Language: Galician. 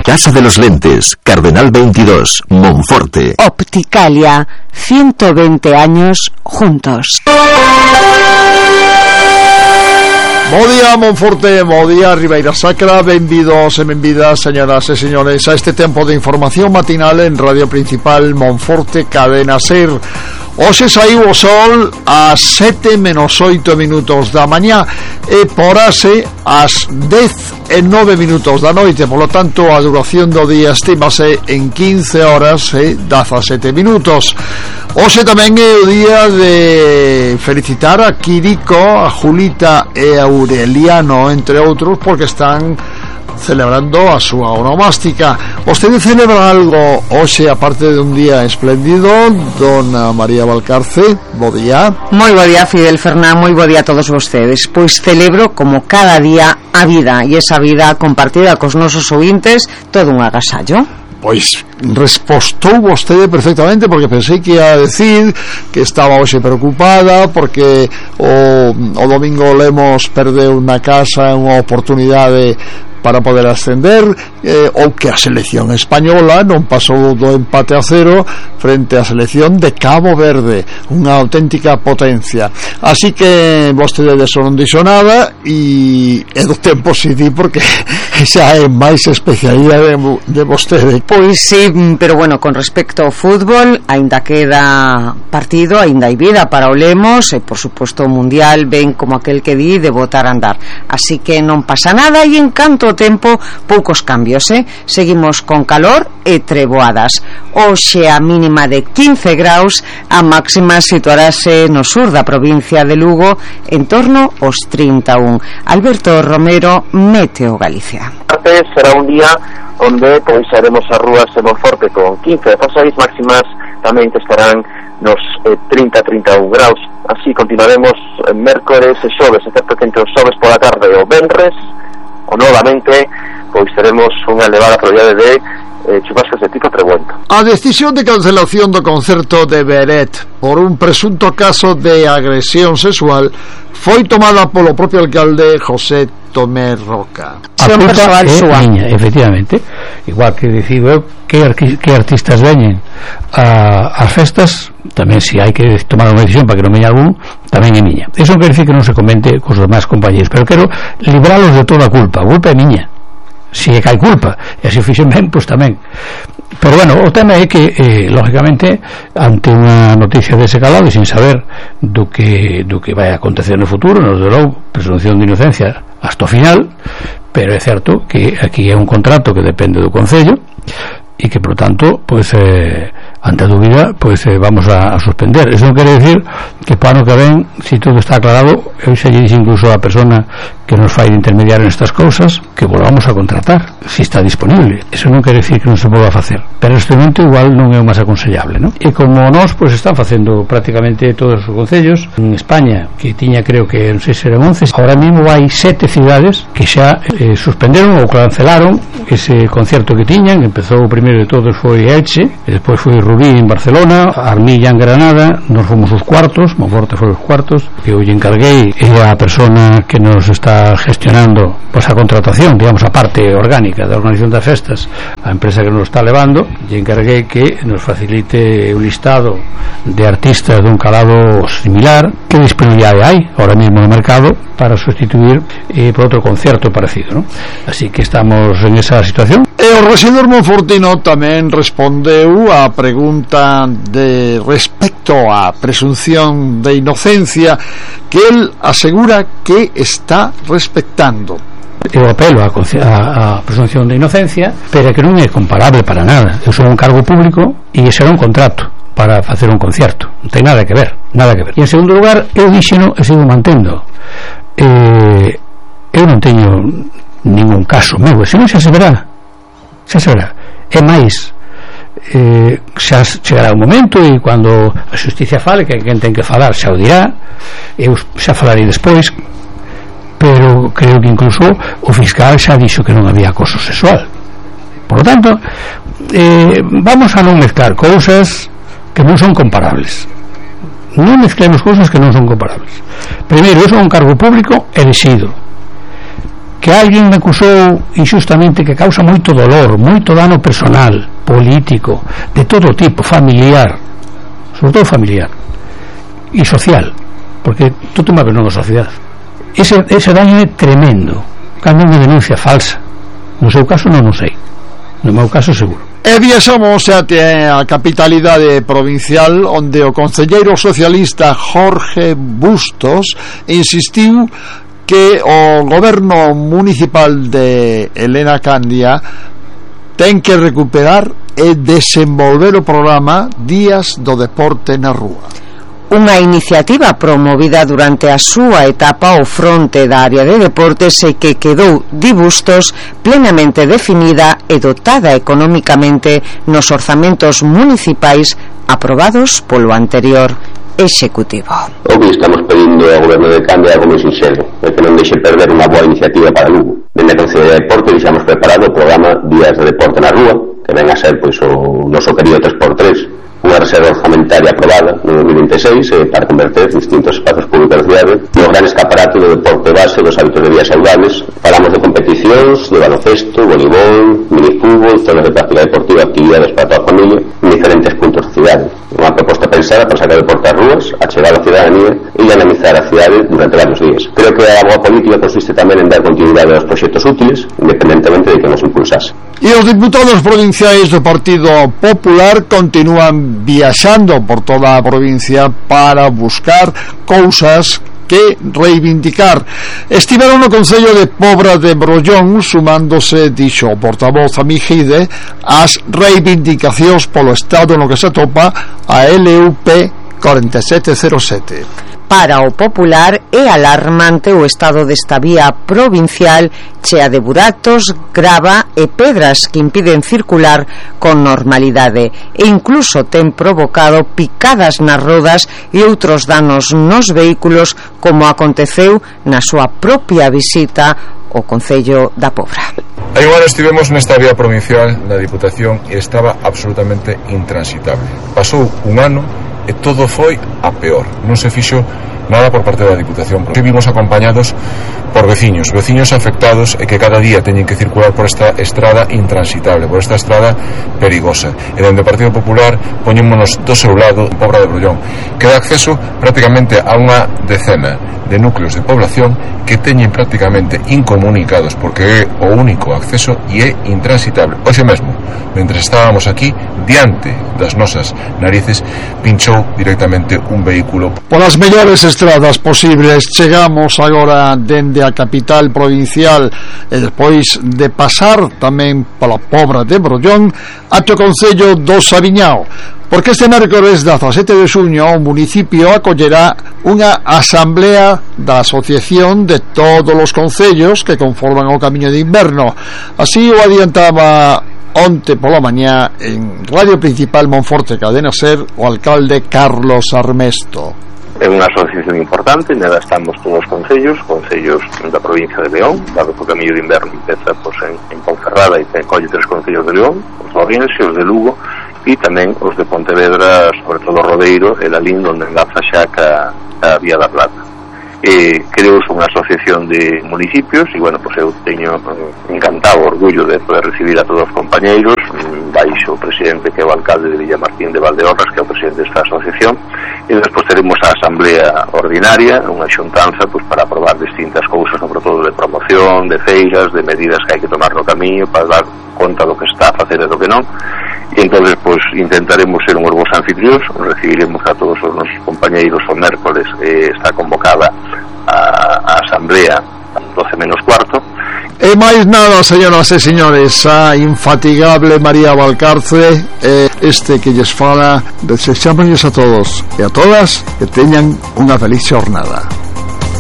Casa de los Lentes, Cardenal 22, Monforte. Opticalia, 120 años juntos. Bo día, Monforte, bo día, Ribeira Sacra. Benvidos e benvidas, señoras e señores, a este tempo de información matinal en Radio Principal Monforte, Cadena SER. Hoxe saiu o sol ás 7:08 da mañá e porase ás 10:09 da noite. Por lo tanto, a duración do día estímase en 15 horas e 17 minutos. Hoxe tamén é o día de felicitar a Quirico, a Julita e a Aureliano, entre outros, porque están celebrando a súa onomástica. Vostede celebra algo hoxe, aparte de un día espléndido? Dona María Valcarce, bo día. Moi bo día, Fidel Fernán, moi bo día a todos vostedes. Pois celebro, como cada día, a vida, e esa vida compartida cos nosos ouvintes, todo un agasallo. Pois respostou vostede perfectamente, porque pensei que ia a decir que estaba hoxe preocupada porque o domingo Lemos perdeu na casa unha oportunidade para poder ascender, ou que a selección española non pasou do empate a 0 frente á selección de Cabo Verde, unha auténtica potencia. Así que vostede de eso non dixo nada, e do tempo si di, porque xa é máis especialidade de vostede. Pois sí, pero bueno, con respecto ao fútbol, aínda queda partido, aínda hai vida para o Lemos, e por suposto o Mundial ven como aquel que di de botar a andar. Así que non pasa nada, e en canto tempo, poucos cambios, seguimos con calor e treboadas. Hoxe a mínima de 15 graus, a máxima situarase no sur da provincia de Lugo en torno aos 31. Alberto Romero, Meteo Galicia. Será un día onde pois haremos as rúas de Monforte con 15-16 máximas, tamén que estarán nos 30-31 graus. Así continuaremos en mércores e xoves, excepto que entre os xoves pola tarde e o venres, o novamente, pois teremos unha elevada probabilidade de chubascos de tipo trebuento. A decisión de cancelación do concerto de Beret por un presunto caso de agresión sexual foi tomada polo propio alcalde José Tomé Roca. A culpa é miña, efectivamente. Igual que decido eu que artistas veñen ás festas, tamén se hai que tomar unha decisión para que non veña algún, tamén é miña. Eso non quer decir que non se comente cos demais compañeros, pero quero libralos de toda a culpa. A culpa é miña. Se é que hai culpa, e se fixen ben, pois tamén. Pero bueno, o tema é que lógicamente, ante unha noticia dese calado e sin saber do que vai acontecer no futuro, nos derou presunción de inocencia hasta o final, pero é certo que aquí é un contrato que depende do Concello e que, por tanto, pois ante a dúbida, pois vamos a suspender. Eso non quere decir que para ano que ven, se todo está aclarado, eu xa lle dixo incluso a persona que nos fai de intermediario nestas cousas, que volvamos a contratar, se está disponible. Eso non quere decir que non se volva a facer, pero neste momento igual non é o máis aconsellable, non? E como nós, pois están facendo prácticamente todos os concellos en España, que tiña, creo que non sei se eran 11, ahora mesmo hai 7 cidades que xa suspenderon ou cancelaron ese concerto que tiñan. Empezou o primeiro de todos foi Elche, e despois foi Rubí en Barcelona, Armilla en Granada, nos fomos os cuartos, Monforte foi os cuartos, que eu lle encarguei a persona que nos está gestionando pois a contratación, digamos, a parte orgánica da organización das festas, a empresa que nos está levando, lle encarguei que nos facilite un listado de artistas dun calado similar, que disponibilidade hai ahora mesmo no mercado para sustituir por outro concerto parecido, ¿no? Así que estamos en esa situación. E o rexedor monfortino tamén respondeu a pregunta de respecto á presunción de inocencia que el asegura que está respectando. Eu apelo a presunción de inocencia, pero que non é comparable para nada. Eu sou un cargo público e ese era un contrato para facer un concerto, non ten nada que ver, nada que ver. E en segundo lugar, eu dixeno e sigo mantendo, eu non teño ningún caso meu, se non xa se verá, é máis, xa chegará un momento e cando a xusticia fale, que quen ten que falar xa o dirá, eu xa falarei despois, pero creo que incluso o fiscal xa dixo que non había acoso sexual. Por lo tanto, vamos a non mezclar cousas que non son comparables. Non mezclemos cousas que non son comparables. Primeiro, eu son un cargo público elexido, que alguén me acusou injustamente, que causa moito dolor, moito dano personal, político, de todo tipo, familiar, sobre todo familiar e social, porque tú te mueves nunha sociedade. Ese daño é tremendo cando unha denuncia falsa. No seu caso non o sei, no meu caso seguro. E viaxamos até a capitalidade provincial, onde o concelleiro socialista Jorge Bustos insistiu que o goberno municipal de Elena Candia ten que recuperar e desenvolver o programa Días do Deporte na Rúa. Unha iniciativa promovida durante a súa etapa ao fronte da área de deportes e que quedou, di Bustos, plenamente definida e dotada económicamente nos orzamentos municipais aprobados polo anterior executivo. O que estamos pedindo ao goberno de Candia é algo moi sinxelo, é que non deixe perder unha boa iniciativa para Lugo. Dende a Consellería de Deporte deixamos preparado o programa Días de Deporte na Rúa, que ven a ser pois o noso querido 3x3, unha reserva orzamentaria aprobada no 2026 para converter distintos espazos públicos da cidade no gran escaparate do deporte base dos hábitos de vida saudables. Falamos de competicións, de baloncesto, voleibol, minifútbol, zonas de práctica deportiva, actividades para toda a familia en diferentes puntos da cidade. Unha proposta pensada para sacar o deporte ás rúas, achegar a cidadanía e dinamizar a cidade durante varios días. Creo que a boa política consiste tamén en dar continuidade aos proxectos útiles, independentemente de que nos impulsase. E os diputados provinciais do Partido Popular continúan viaxando por toda a provincia para buscar cousas que reivindicar. Estiveron no Concello de Pobra de Brollón, sumándose, dixo o portavoz Amigide, as reivindicacións polo estado no que se atopa a LUP 4707. Para o popular é alarmante o estado desta vía provincial chea de buratos, grava e pedras que impiden circular con normalidade e incluso ten provocado picadas nas rodas e outros danos nos vehículos, como aconteceu na súa propia visita ao Concello da Pobra. Hai un ano estivemos nesta vía provincial da Diputación e estaba absolutamente intransitable. Pasou un ano e todo foi a peor, non se fixo nada por parte da Diputación, porque vimos acompañados por veciños afectados e que cada día teñen que circular por esta estrada intransitable, por esta estrada perigosa, e donde o Partido Popular poñémonos do seu lado, en Pobra de Brollón, que dá acceso prácticamente a unha decena de núcleos de población que teñen prácticamente incomunicados, porque é o único acceso e é intransitable. Hoxe mesmo, mentre estábamos aquí, diante das nosas narices, pinchou directamente un vehículo. Por as mellores estradas posibles chegamos agora dende a capital provincial e despois de pasar tamén pola Pobra de Brollón ate o Concello do Sabiñao, porque este mércores 17 de xuño o municipio acollerá unha asamblea da asociación de todos os concellos que conforman o Camiño de Inverno. Así o adiantaba onte pola mañá en Radio Principal Monforte Cadena Ser o alcalde Carlos Armesto. É unha asociación importante, nela estamos todos os concellos da provincia de León, dado que o Camiño de Inverno empeza en Ponferrada e colle 3 concellos de León, os de Ourense, os de Lugo e tamén os de Pontevedra, sobre todo Rodeiro e Lalín, onde enlaza xa a Vía da Plata. Creouse unha asociación de municipios e, bueno, pues eu teño encantado, orgullo de poder recibir a todos os compañeiros, baixo o presidente que é o alcalde de Villamartín de Valdeorras, que é o presidente desta asociación, e despois teremos a asamblea ordinaria, unha xuntanza pues, para aprobar distintas cousas, sobre todo de promoción, de feiras, de medidas que hai que tomar no camiño para dar conta do que está a facer e do que non. E entón, pues, intentaremos ser unhos bons anfitrións, recibiremos a todos os nosos compañeiros o mércoles, está convocada a asamblea 12 menos cuarto. E máis nada, señoras e señores, a infatigable María Valcarce, este que lles fala, desexámonos a todos e a todas que teñan unha feliz xornada.